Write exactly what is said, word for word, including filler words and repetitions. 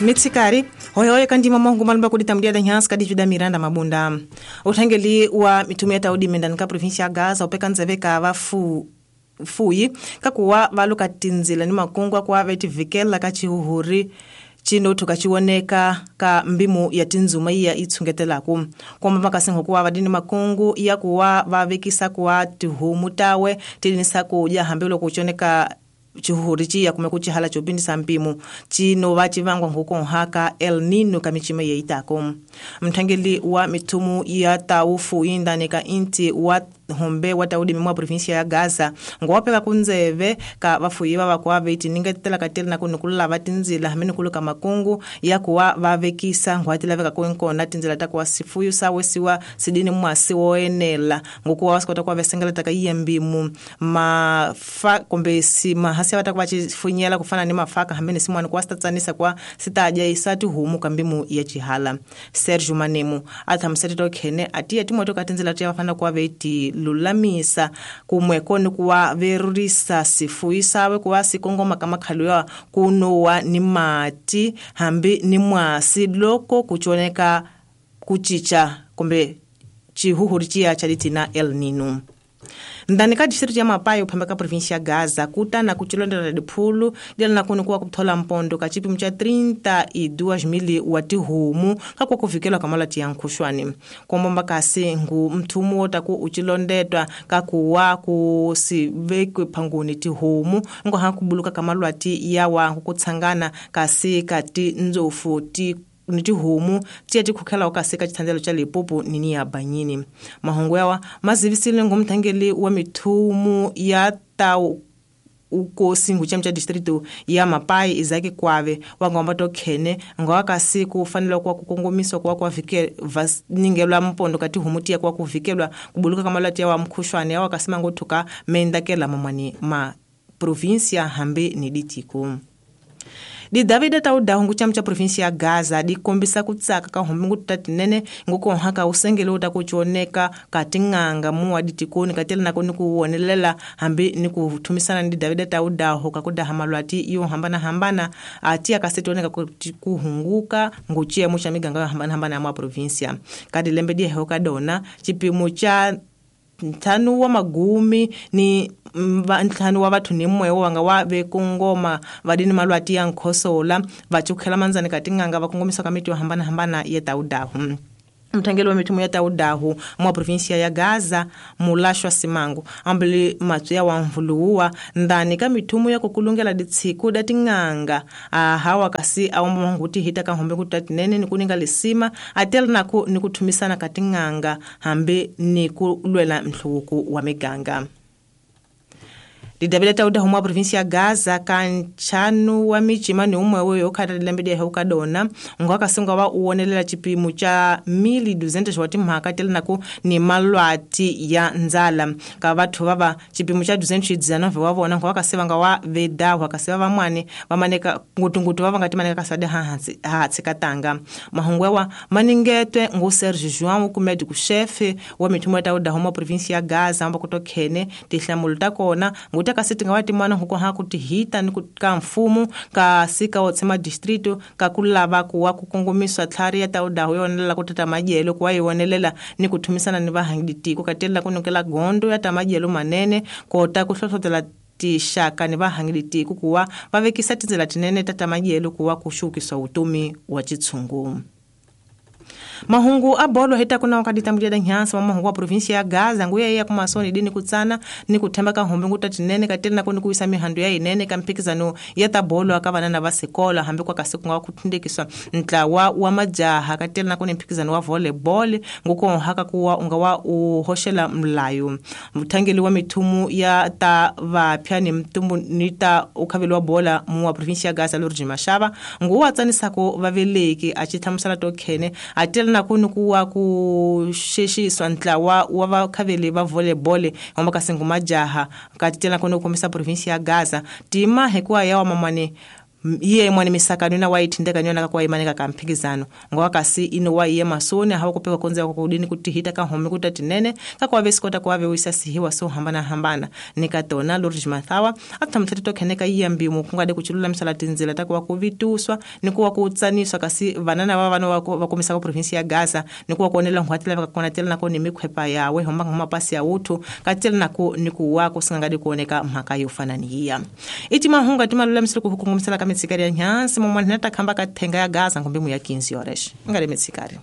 Mitsikari hoyohoyo kandima mongu malumba kuditambulia danyansi kadivida Miranda Mabunda uthangeli wa mitumia taudi mendani ka província ya Gaza upeka nzeve ka vafu fuyi kakuwa valuka tinzila ni makungwa kwa vetivikela ka chihuhuri chinothu kachiwoneka ka mbimu ya tinzuma iya itshungetelaku komba makasingo kuwa vadini makungu ya kuwa vavekisa kuwa tihumu tawe tilinisa kudya hambi loko kuchoneka chihuhuri chiya kume kuchihala chopindisa mpimu chino vachivangwa nkukonhaka El Nino kamichima yeitako mthangeli wa mithumu ya taufu indani ka inti wa hombe wa taudi mwa província ya Gaza ngwapeka kunzeve ka vafuyi va vakuwa veitiningetela kateli na kunukulula va tinzila hambi nikuluka makungu ya kuwa vavekisa ngwatilaveka kuinkona tinzila ta kuwa sifuyu sawesiwa sidini mwasi woenela ngokuwa vasikota kuwa vesengela ka iye mbimu mafa kumbe si mahasi vata kuva chifunyela kufana ni mafaka hambi ni simwani kuwa sitatsanisa kuwa sitaja isati humu ka mbimu ya chihala. Sergio Manemu athamuseteta khene atiya timoto ka tinzila tiya vafana kuwa veiti lulamisa kumweko ni kuwa verurisa sifuyi sawe kuwa sikongoma ka makhalu ya kunowa ni mati hambi ni mwasi loko kuchoneka kuchicha kumbe chihuhuri chiya chalitina El Nino. Ndani ka distrito ya Mapai uphamba ka província ya Gaza kutana kuchilondela diphulu dela na kuni kuwa kuthola mpondo ka chipimo cha trinta e duas mil wa tihumu ka kwa kuvikelwa ka malwati ya nkhuxwani kombomba kasi ngu mthumu wo ta ku uchilondetwa ka kuwa ku sivekwe phanguni tihumu ngo ha kubuluka ka malwati ya wa kutshangana kasi ka tindzofu ti ni tihomu tiya tikhukhela kasi ka chithandzelo cha Limpopo nini ya Banyini. Mahungu yawa mazivisile ngumthangeli wa mithumu ya tau ukosi ngucham cha distrito ya Mapai Izaki Kwave wangomba to khene ngowa kasi kufanele kwa kukongomiswa kwa kwa vike ningelwa mpondo kati homu tiya kwa kuvikelwa kubuluka kamalati ya wa mkhushwane yawa kasima ngothuka mendakela mamani ma província hambi ni ditiko. Di Davida tauda hungu chama cha província ya Gaza di kombisa kutsaka ka hombingu tatinene ngukonhaka usengele utakuchoneka katinganga muwa ditikoni katela nako nikuwonelela hambi nikuthumisana ndi Davida tauda hoka kudaha malwati iyo hambana hambana atia kasetoneka kuhunguka nguchia mucha miganga hambana hambana ya mwa província kadi lembe die hoka dona chipimo cha nthanu wa magumi ni ntlhanu wa vathu ni mwewo wanga wa vekongoma vadini malwati ya nkhosola vachukhela manzani katinganga vakongomisa ka miti yo hambana hambana ya taudahu. Mthangeli wa mithumu ya taudahu mwa província ya Gaza Mulashwa Simango ambili matsu ya wamvuluwa ndani ka mithumu ya kukulungela ditsiku da tinganga ahawa kasi awomba nguti hita ka hombe kutatinene ni kuninga lisima atela nako ni kuthumisana katinganga hambi ni kulwela mhluku wa miganga. Didabila tauda humwa província ya Gaza kanchanu wa michima ni umwe weyo khata lembe ya hukadona ngwaka singa wa uonelela chipimo cha mili duzentos wa timhaka tele nako ni malwati ya nzala ka vathu vava chipimo cha duzentos dezenove wa vona ngwaka sivanga wa veda wakasiva vamwani vamaneka ngutungutu vava ngati maneka kasade ha ha tsikatanga mahungwe wa maningetwe ngu Serge João ku médico chefe wa mithumo tauda humwa província ya Gaza amba kutokhene tihlamulo ta kona kasi tinga wati mwana huko ha kutihita ni ka mfumo ka sika wotsema distrito ka kulava kuwa kukongomiswa tlhari ya taudahu yonelela kutata majelo kuwa yonelela ni kuthumisana ni vahangiditiko katela kunukela gondo ya tamajelo manene kota kuhlohlotela tixaka ni vahangiditiko kuwa vavekisa tindzela tinene ta tamajelo kuwa kuxukisa utumi wa chitshungu. Mahungu abolo heta kuna wakati tambulia danyansa wa mahungu wa província ya Gaza nguya ya kumasoni dini kutsana ni kuthemba ka hombe ngutatinene katela nako ni kuisa mihandu ya inene ka mphikizano ya tabolo akavana na vasekola hambi kwa kasi kunga kuthindekiswa ntlawa wa majaha katela nako ni mphikizano wa volleyball ngukonhaka kuwa unga wa uhoxela mlayo mthangeli wa mithumu ya ta vapya ni mtumbu ni ta ukhaveli wa bola mu wa província ya Gaza Lorji Mashaba nguwa tsanisako vaveleki a chithamusela to khene atela nako ni kuwa kuxexiswa ntlawa wa vakhaveli va volleyball hamba kasi ngumajaha katela nako ni ku kombisa província ya Gaza tima hikuwa ya wa mamani Iye mwana misakano na waithindeka nyona ka kwaimaneka ka mphikizano ngowa kasi ino waiye masoni hawa kupeka konza kudini kutihita ka home kutatinene ka kwave sikota kwave wisa sihiwa so hambana hambana nikatona Lourdes Mathawa athamthete tokheneka iya mbimu kungade kuchilula misala tinzila takuwa kuvituswa nikuwa kutsaniswa kasi vanana va vana va kumisa ka province ya Gaza nikuwa kuonela nghwatela va konatela nako ni mikhwepa yawe homba mapasi ya uthu katela nako nikuwa kusingangade kuoneka mhaka yo fana ni iya iti mahunga timalula misala kuhukungumisela ka mitsikari ya nyansi momwana nata khamba ka thenga ya Gaza ngombe mu ya quinze horas ngale mitsikari.